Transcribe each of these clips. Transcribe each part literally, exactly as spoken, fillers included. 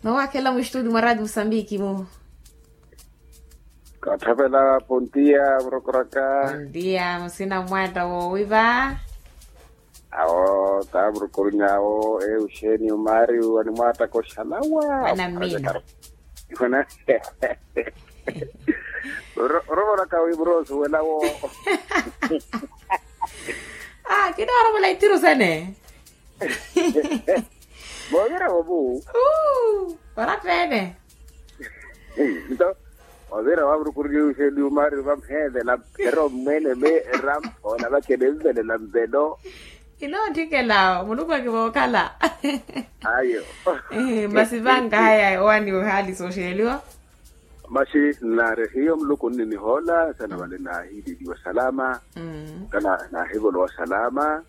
Nowakhela muxtuti mwa rati musambiki mu. Kathapela pontiya murokoraka. Pontiya musina mwata wowiva. Awo tamurukurunya awo euxeni umari wani mwata koxalawa. Anammina. Orovoraka wi murosuwela wo. Ah kinoorovola ithiru sene. Moovira vomu. Uu, ora pene. Nto ovira wamurukuriye uxeli umari vamhevela. Ero mmwene me eramphoola vakene mvelela mvelo. Kinootthikela muluku akivookhala. Ayo. Masi vankaha ya owani ohaalisa oxeliwa. Masi nnaari hiyo muluku nninihoola sana vale naahililiwa salama. Kana naahivolowa salama.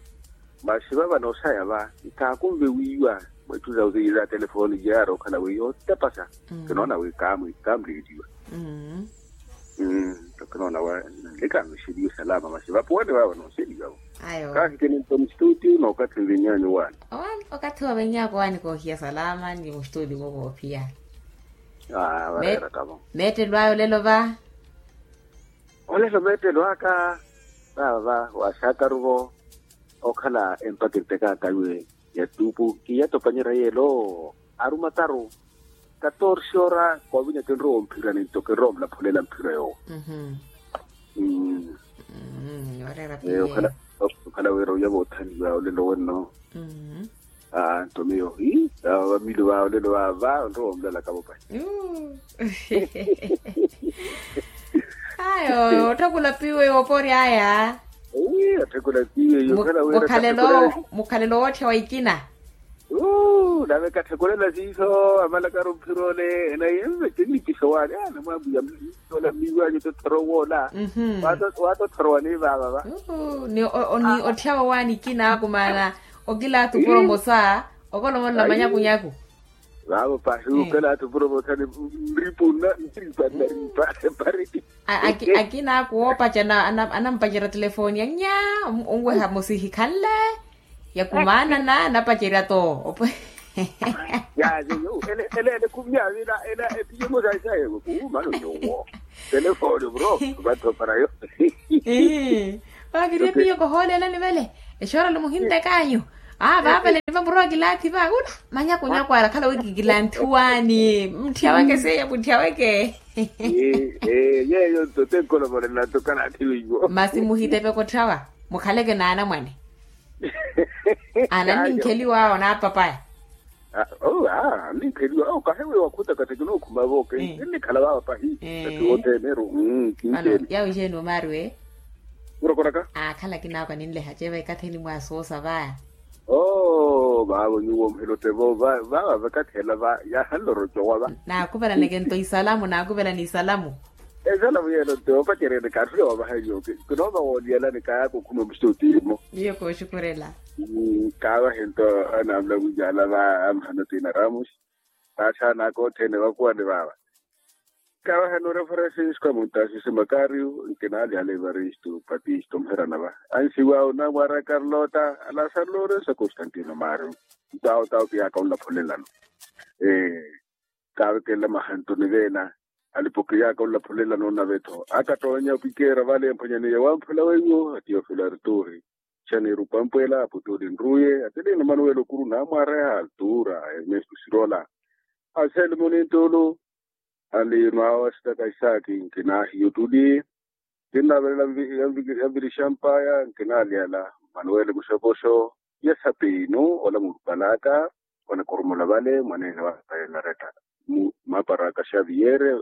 Masi vava noosaya va nkaakunve wiiwa mwetthu za telefooni yaari okhala wi yootepasa. Kinoona wi kaamuliliwa. Kinoona wa nlikaanvexeliwe salama masi vapuwani vava nooseliwa vo. Kaahikini nto mustuti nookathi nvinyanyu waani. Okathi wa venyako waani koohiya salama ni mustuti mo voophiya. Vareera tavo. Meettelo ayo lelo va. Olelo meettelo aka vava va waaxakaru vo. Okhala empakirite kaakayu ya ttuupu kiiyatopanyerya yeelo. Aruma taru katorse ora koovinya kinrowa omphirani nto kinrowa omulaphulela mphiro yoowo. Okhala wira oya voothaniwa olelo wenno. Nto miyo vamili va olelo vava onrowa omulalaka vopahi. Ayo otthakula piwe oporya aya. Otthakula piwe. Mukhalelo wootthiya wa ikina. Nave katthakulela siiso amalakaru mphirole enaye mve kinnikiso waani namwambuya. Ola mmiiwanyu totthorowa ola. Waatotthorowa ni vaava va. Ni otthyawa waani ikina akumaana. Okilaathu puro mosa okolomolela manyakunyaku. Vaavo pahi okilaathu puro mosa ni nripu nna nripa nnaripa. Akina aku woopacerya anampacerya telefooni ya nya. Onweha mosihi khanle. Yakumaanana napacerya to. Yayo ele ele ele kumya vila ela epiye mosaisaye. Kuumano yowo. Telefooni bro. Vathoparayo. Vakiri epiye kohooleelani vale. Exoora lumuhintekanyu. Aa vaavale niva muroowa kilanthi va una. Manyakunyaku ara khala wi kikilanthi waani mutthya weke seiya mutthya weke. Yeyo nto tenkolovolela nto kalanthi weiwo. Masi muhitepe kotthawa. Mukhaleke naanamwane. Ananninkheliwa awo naapapaya. Anninkheliwa awo kahiwe wakhutaka tekinokhuma vo kennikhala vava pahi. Ati wothene ero. Kincheni yawo ixeeni omaari we. Murokoraka. Aakhala kinaakwa ninleha ceva ekatheni mwasoosa vaya. Oo vaavo nyuwo mhilote vo vava vakathi ela va yahanlorocowa va. Naakuvelaneke nto isalamu naakuvelani isalamu. Esala vuyelo nto opacerene kaatthule wavaha nyuwo kinoova wooliyalani kayaaka okhuma musi otiimo. Miyo kooxukurela. Kaavahe nto anamula wiiyala va amhano tina ramusi. Vaaxaanaka othene vakuwani vaava. Kaavahe nuura francisco amuntaxisi makariyu nkinaalyala evaristu patistu omuherana va. Ansiwaawe onamwaara carlota alasaru lorenso a constantino mario. Nto awo tawo kiyaaka onlaphulelano. Kaavekelela mahantu ni veena. Alipo kiyaaka onlaphulelano nave-tho akatoonya opikeera vale mphwanyaniya wamphwela weiwo a tiofilo arturi. Xaniiru pampwela aputuli nruye atelino manuwelo kuru naamwareha altura a ernesto sirola. Axeeli munintulu. Anliino awo asitaka isaaki nkinahiyo tuli. Kinnaavelela yanvirixa mpaya nkinaalyala manuweli muxopoxo. Yasapiinu ola murupalaka. Onikurumula vale mwaneene wa payanaretta. Maparaka xaviyere.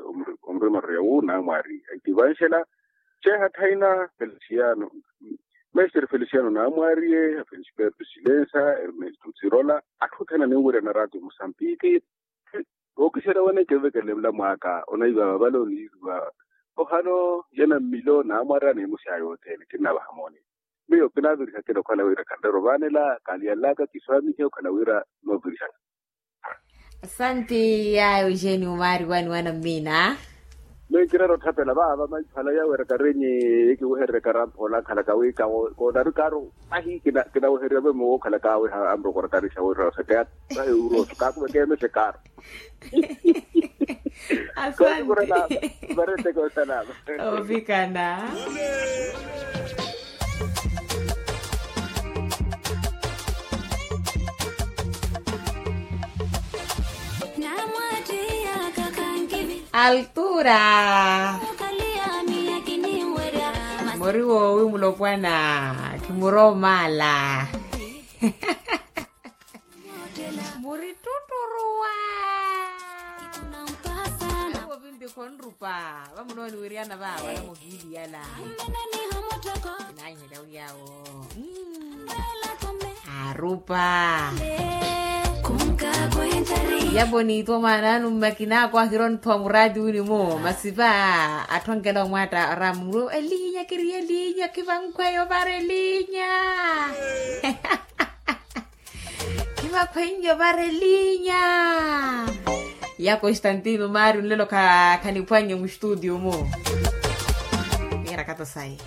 Omurimarurya wu naamwaari etivanxela. Xeeha thaina feliciano. Mestre feliciano naamwaariye a felisberto silensa ernesto sirola atthu othene aninwerya na ratio musambiki. Ookisera wane kinvekelela mulamu aka onaiva vavale oniiriwa. Ohano yena mmilo naamwarya niimusi aya othene kinnavaha mooni. Miyo kinaavirihakela okhala wira khanrera ovaanela kaaliyalaka kiswaamihe okhala wira noovirihaka. Asanti. Yayo jeni omaari wani wana mmina. Menkirera otthapela vaava maiphala yawerekarenyi, ekiweherereka ramphola nkhalaka wi kawo konari kaaru, ahi kinawehererya mwe muwo okhalaka awe. Anrokorakarixa wirira oseke ata vahe uroso kakuvekemexe kaaru. Asante. Vareteke osalama. Ovikana. Altura. Muri woowi mulopwana, khimuroomaala. Muri tutturuwa. Awo vinti khonrupa vamunooni wiriana vaawala muhiiliyala. Naihela wiyawo. Arupa. Yaponiitwa mwaan'anu mmakina ako ahira ontthuwa muraati wini-mo masipa. Atthwankela omwaatta aramu elinya kiriye elinya kivankhweyo vara elinya. Kivakhwenyo vara elinya. Ya constantino mari nlelo khaniphwannye mustutio-mu. Mira kato sayi.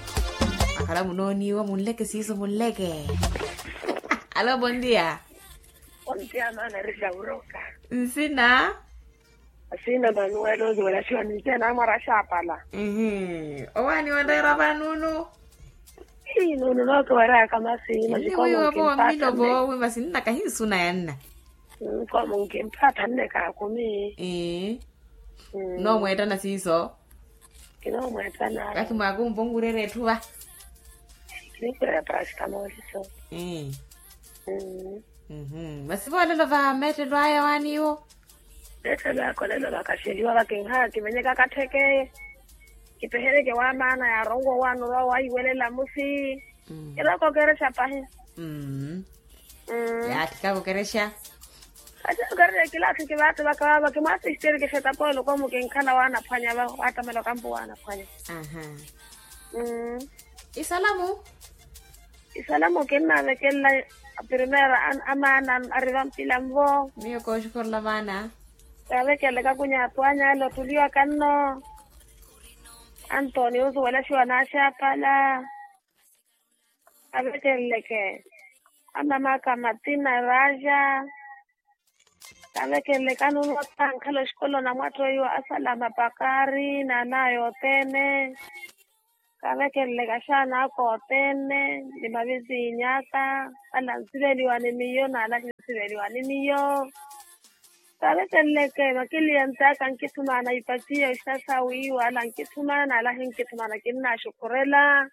Akhala munooniwa munleke siiso munleke. Alo bondia. Bondia mana risa uroka. Nsina. Asina manuwelo nziwela siwa ninse namwara xapala. Owaani wanreera vanunu. Ii nunu nokiwereyaka masi. Masi komo nkimpata nne. Wi masi nnakahi nsuna yanna. Komo nkimpata nne kaakumi. Ii. Noomweettana siiso. Kinoomweettana. Vakhi mwaakumpa onwirerya etthu va. Kinikhweya parasitamoli so. Ii. Masi voolelo va meettelo aya waaniwo. Meettelo aya kolelo vakaxeliwa vakinhaya kimenyeka katthekeye. Kipehereke wa maana yaaronwa owaani orwa wahiwelela musi. Kiroka okerexa pahi. Yaatthikaka okerexa. Ati okerexa kilaatthi kivaati vaka vaava kimwaasisteri kixeta poolo komu kinkhala waanaphwanya va waattamela okampo waanaphwanya. Isalamu. Isalamu kinnaavekelela. Apirimeera amaana ari vampila nvo. Miyo kooxukhorela maana. Kaavekelele kakunya atwanya ale otuliwaka nno. Antonio osuwelaxiwa naaxapala. Kaavekeleleke. Amamaka matina raja. Kaavekeleleke anunuwa tankhala oxikolo na mwatto iwo asalama pakari na anaya othene. Kaavekeleleke axaana aka othene ni mavizinyaaka. Ala ansiveliwa ni miyo n'ala hinsiveliwa ni miyo. Kaavekeleleke makiliyant'aka ankithumaana ipatiya oxitaxa wiiwa ala ankithumaana ala hinkithumaana kinnaaxukhurela.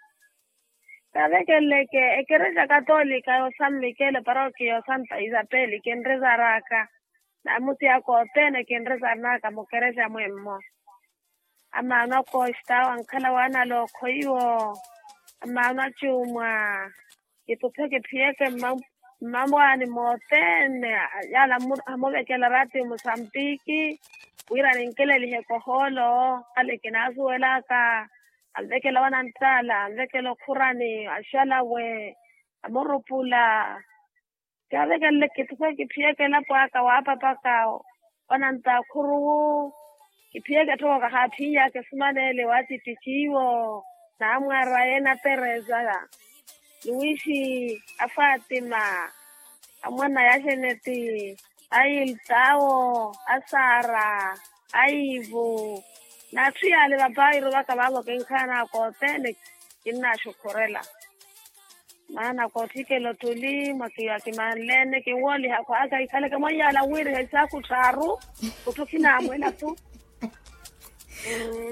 Kaavekeleleke ekerexa katolika y'osammikele parokiya y'osanta isapeli kinrezaraka. Naamusi aka othene kinrezarnaka mukerexa mwemmo. Amaano akoxita awo ankhala waanalookho iwo. Amaano acuumwa. Kituphe kiphiyeke mmamwaani mothene. Yaala amuvekela raati musambiki wira ninkeleliheke ohoolo. Ale kinaasuwelaka. Anvekela wananttaala anvekela okhurani axalawe. Amurupula. Kaavekelele kituphe kiphiyeke elapo aka waapapaka. Wanantta akhuruwu. Kiphiyeke tthoko kahaaphinyaka esumaneele waatittici iwo. Naamwar'aya enatereza. Luwixi. Afaatima. Amwana ya xeneti. Ailtawo. Asara. Aivu. N'atthu yaale vapairu vaka vaavo kinkhanaka othene. Kinnaaxukhurela. Maana kootthikela ottuli mwakiwa kimanlene kinwooliha khwaaka ikhaleke mwanyaala nwiriha isaakhu tthaaru. Kutthu khinaamwela-tho.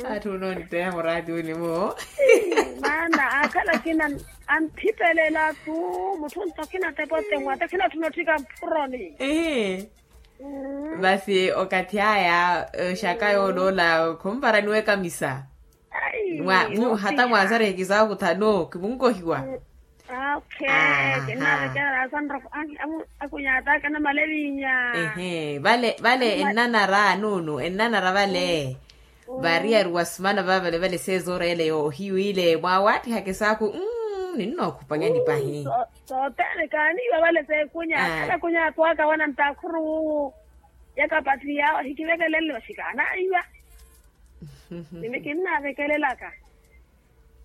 Atthu onoonitteya muraati wini-mo. Maana akhala akina anthipelela-tho. Mutthu onto khinatepa otemwa ato khinatthuna otthika mphuroni. Masi okathi aya oxaka yooloola khumparaniwa ekamisa. Hata mwaasarihe kisaakhu thano kimunkohiwa. Kinnavekerera asanroko. Akunyataka namale vinya. Vale vale ennanara nuunu ennanara vale. Variyari wasimana vaavale vale seezooreyele yoohiwile mwaawaattiha kisaakhu. Ninnookhupanyani pahi. Sothene kaaniiwa vale seekunya. Kala kunya atwaaka wanantta akhuru. Yakapattiyawo ahikivekelele vaxikaanaiwa. Nimi kinnavekelelaka.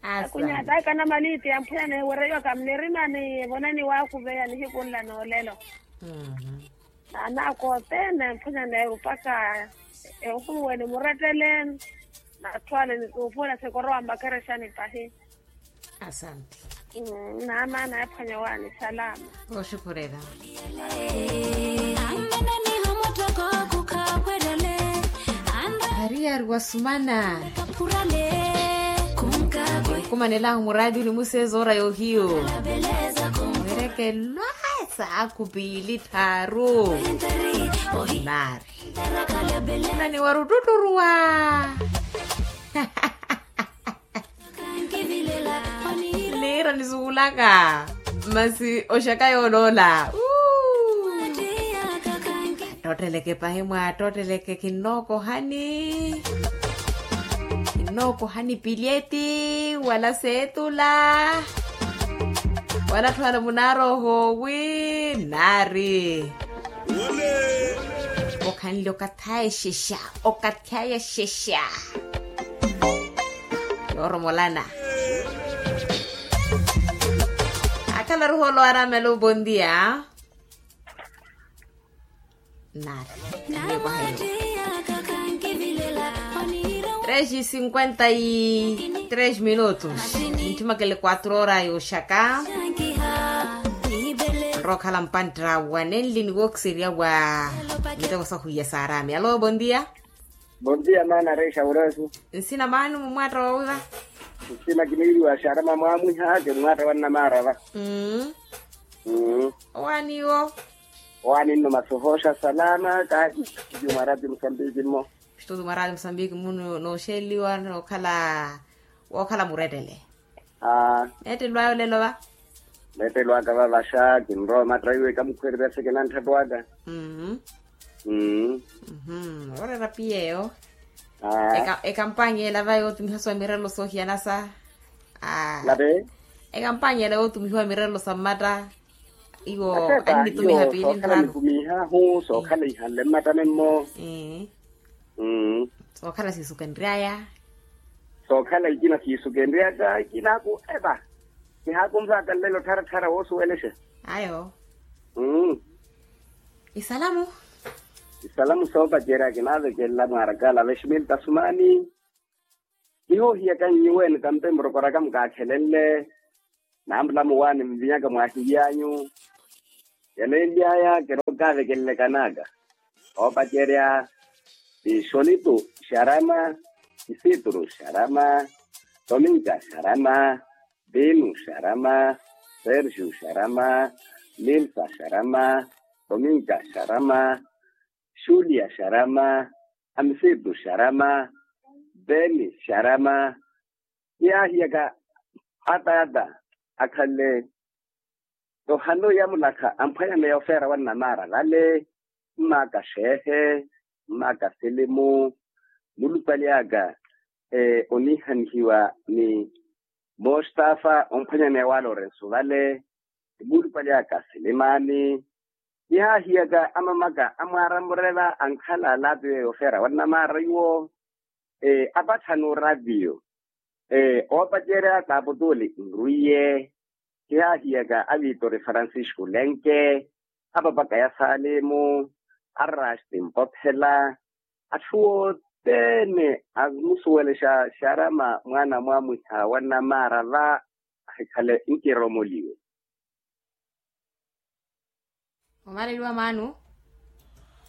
Akunyataka na maliiti ya mphwene wereiwaka mnirimani evonani wakuveya nihikunla noolelo. Naana kootene mphwene neeru mpaka ehuwe nimurettele. Natthu ale nituupuwela sikorowa mmakerexani pahi. Asanti. Naamaana yaphwanya owaani salama. Oxukhurela. Ariyari wasumana. Nkumanelahu muraadi onimuseeza ora yohiyu. Werekelwa saaku piili tthaaru. Nari nani warututturuwa. Niira nisukulaka masi oxaka yooloola. Attootteleke pahi mwaattootteleke kinnookohani. Kinnookohani pilyeti wala seetula. Wala atthu ala munaarooho wi nari. Okhanle okathi aya exexa. Okathi aya exexa. Yooromolana. Akhala ruholo araamelo bondia. Nari. Tres cinquenta y tres minutos. Nithimakele quatro ora yoxaka. Nrookhala mpantta wa nenli niwookiserya wa miteko sahuiya saarami alo bondia. Bondia maana rexa urasi. Nsina maani mumwaatta wawiva? Nsina kiniiriwa xarama mwaamwiha kimwaatta wa nnamaarava. Owaani iwo? Owaani nno masi ohooxa salama kaati. Studio mwa raati musambiki mmo. Studio mwa raati musambiki mmo nooxeliwa nookhala wookhala murettele. Neettelwaya olelo va? Neettelwaka vavaxa kinrowa omatta iwe kamukhweererya sekenantthattu aka. Oreera piyeeyo. Ekampanya ela va yootumiha suwa mirelo soohiyana sa. Ekampanya ela yootumihiwa mirelo sa mmatta. Iwo annitumiha piili nraru. Sookhala ihanle mmatta memmo. Sookhala siisu kenry'aya. Sookhala ikina siisu kenry'aka ikinaaku epa. Kihaakunvaka nlelo ttharattharya woosuwelexa. Ayo. Isalamu. Isalamu soopacerya kinaavekelela mwaarakaala veximili tasumani. Kihoohiyaka nnyuweeni tampe murokoraka mukaakhelenle. Nampula muwaani mvinyaka mwaahiy'anyu. Yale enly'aya kirookaavekelelekanaka. Oopacerya, tixonitu xarama, kisituru xarama, tominka xarama, pinu xarama, sergiu xarama, nilsa xarama, tominka xarama, xulia xarama, amisitu xarama, peni xarama. Kiyaahiyaka ata ata akhanle tohano ya mulakha amphwanyaneya ofeera wa nnamaara vale. Mmaaka xeehe, mmaaka silimu, mulupali aka oniihanihiwa ni mostafa omphwanyaneya wa lorensu vale. Mulupali aka silimaani. Kihaahiyaka amamaka amwaara mureva ankhala alapi weyo ofeera wa nnamaara iwo. Apatthani orapiyo oopacerya kaaputuli nrwiye. Kihaahiyaka avitori francisco lenke, apapaka ya salimu, arasti mpophela, atthu othene amusuwelexa xarama mwaana mwamwiha wa nnamaara va ahikhale nkiromoliwe. Omaleliwa maanu.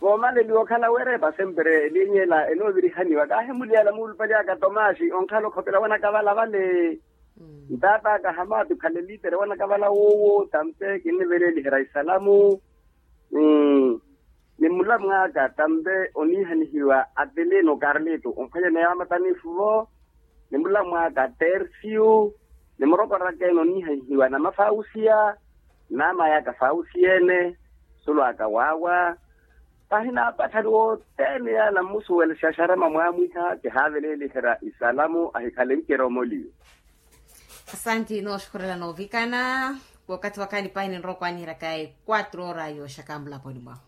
Voomaleliwa okhala weerepa sempre elinyela enoovirihaniwa kaahimuliyala muulupali aka tomasi onkhala okhopela wanakavala vale. Ntaat'aka hamaati okhala elitere wanakavala woowo tampe kinniveleliherya isalamu. Ni mulamw'aka tampe oniihanihiwa atilino karlito omphwanyaneya wamatanifu vo. Ni mulamw'aka tersiu. Ni murokoraka ene oniihanihiwa namafausiya. Naama yaka fausiya ene. Sulu aka waawa. Pahina apatthani wothene yaala mmusuwelexa xarama mwamwiha kihaaveleliherya isalamu ahikhale nkiromoliwe. Asanti nooxukhurela noovikana. Wakathi wakhaani pahi ninrowa okwaaniheryaka e quatro ora yooxaka mulaponi mwahu.